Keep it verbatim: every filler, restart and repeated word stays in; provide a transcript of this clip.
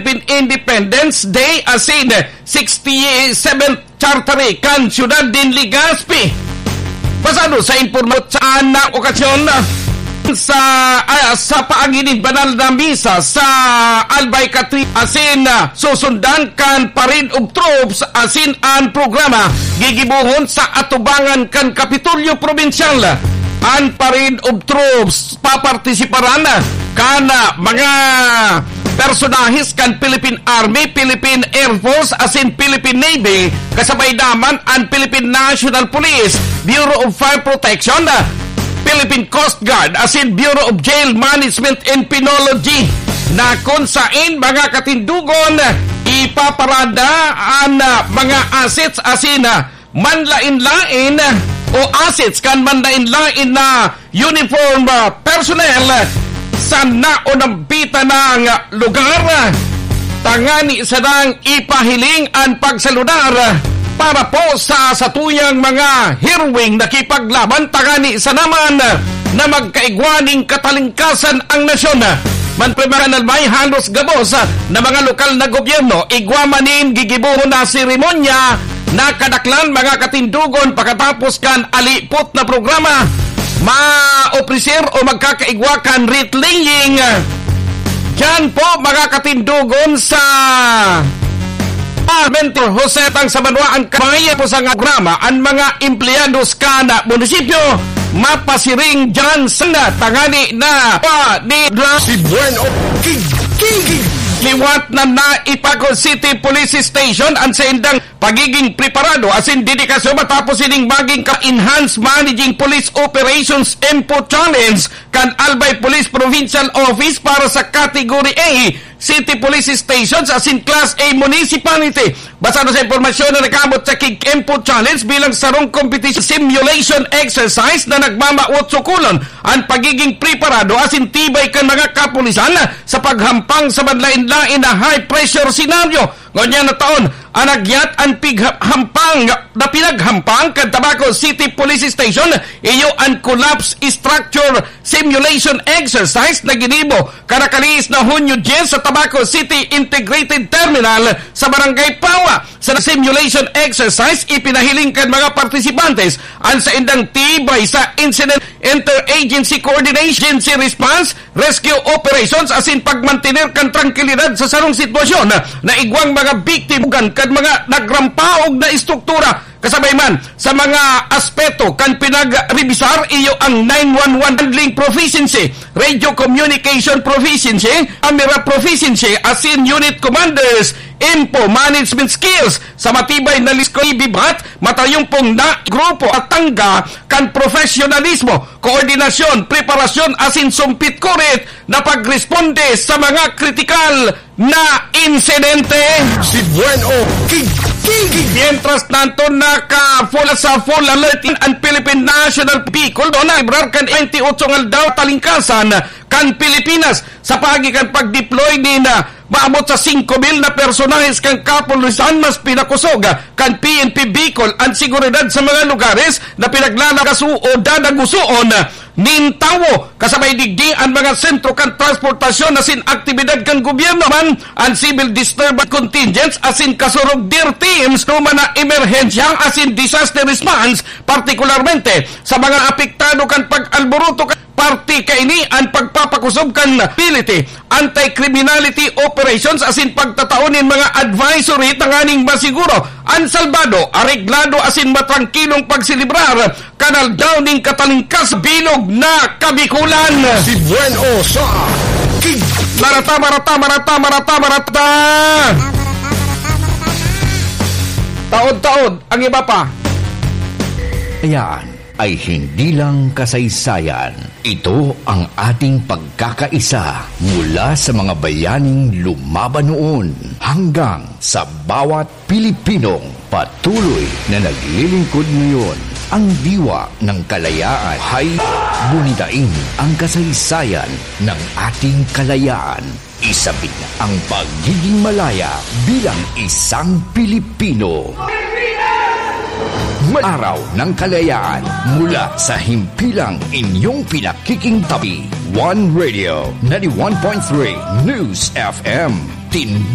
Philippine Independence Day asin sixty-seventh Charter kan Siyudad nin Legazpi. Basado sa impormasyon sa na okasyon, sa, ah, sa paagi nin banal na misa sa Albay Cathedral asin, ah, susundan kan Parade of Troops asin an programa gigibohon sa atubangan kan Kapitolyo Probinsyal. An Parade of Troops papartisiparan kan, ah, mga personahes kan Philippine Army, Philippine Air Force asin Philippine Navy, kasabay naman an Philippine National Police, Bureau of Fire Protection, Philippine Coast Guard asin Bureau of Jail Management and Penology, na kun sain, mga katindogon, ipaparada an, ah, mga assets asin, ah, manlain-lain o assets kan manlain-lain na uniform, ah, personnel sa naunampitan na lugar, ah, tangani sanang ipahiling an pagsaludar, ah, para po sa satuyang mga heroeng nakipaglaban, tangani sana man, ah, na magkaigwa nin katalingkasan ang nasyon. Manpre mga nalmay, halos gabos, ah, na mga lokal na gobyerno, igwa man nin gigibohon na seremonya, nakadaklan, mga katindogon, pakatapos kan alipot na programa, maopreser o magkakaigwa kan wreath laying. Diyan po, mga katindogon, sa Mentor Jose Tang sa Banwa ang Kabaya po sa programa, ang mga empleyados kan munisipyo mapasiring diyan sa tangani na pa ni Bla- Si Buen O King, King, King. Liwat na naipago City Police Station ang saindang pagiging preparado asin dedikasyon matapos ining maging ka-, Enhanced Managing Police Operations Info Challenge kan Albay Police Provincial Office para sa Category A City Police Stations asin Class A Municipality. Basado sa impormasyon na nakaabot sa Kig Info Challenge bilang sarong competition simulation exercise na nagmamawot sukulon ang pagiging preparado asin tibay kan mga kapulisan sa paghampang sa manlain-lain na high-pressure scenario. Ngunyan na taon, an agyat an pigha-, hampang na pinaghampang kan Tabaco City Police Station, iyo an collapse structure simulation exercise na ginibo kan nakalihis na Hunyo dyes sa Tabaco City Integrated Terminal sa Barangay Pawa. Sa simulation exercise, ipinahiling kan mga partisipantes an saindang tibay sa incident interagency coordination, agency response, rescue operations asin pagmantener kan trangkilidad sa sarong sitwasyon na igwang mga biktima kan mga nagrampaog na estruktura. Kasabay man sa mga aspeto kan pinagrebisar, iyo ang nine one one handling proficiency, radio communication proficiency, camera proficiency, asin unit commanders info management skills. Sa matibay na lisko, ibibat, matayong pong na grupo at tangga kan profesionalismo, koordinasyon, preparasyon, asin sumpit-kurit na pagresponde sa mga kritikal na insidente. Si Buen O King, King, King. Mientras tanto, naka-full sa full alert ang Philippine National Bicol, no, na librar kan twenty-eight nga aldaw talingkasan kan Pilipinas sa paagi kan pag-deploy ni na maabot sa singko mil na personahes kan kapulisan, mas pinakosog kan P N P Bicol ang seguridad sa mga lugares na pinaglalakaso o dadagusoon nin tawo. Kasabay digdi an mga sentro kan transportasyon asin aktibidad kan gobyerno man, an civil disturbance contingents asin kasurog dir teams, ruma na emerhensya asin disaster response, partikularmente sa mga apektado kan pag-alboroto. Parte kaini an pagpapakusog kan ability anti-criminality operations asin pagtatao nin mga advisory tanganing masiguro an salbado, areglado asin matrangkilong pagselebrar kan Aldaw nin Katalingkas bilog na Kabikulan. Si Buen O sa King. Marata, marata, marata, marata, marata. Taod-taod ang iba pa. Ayan ay hindi lang kasaysayan. Ito ang ating pagkakaisa mula sa mga bayaning lumaban noon hanggang sa bawat Pilipinong patuloy na naglilingkod ngayon. Ang diwa ng kalayaan. Hay, gunitain ang kasaysayan ng ating kalayaan. Isabit ang pagiging malaya bilang isang Pilipino. Araw ng Kalayaan mula sa himpilang inyong pinakikingtabi. One Radio, ninety-one point three News F M. Tin-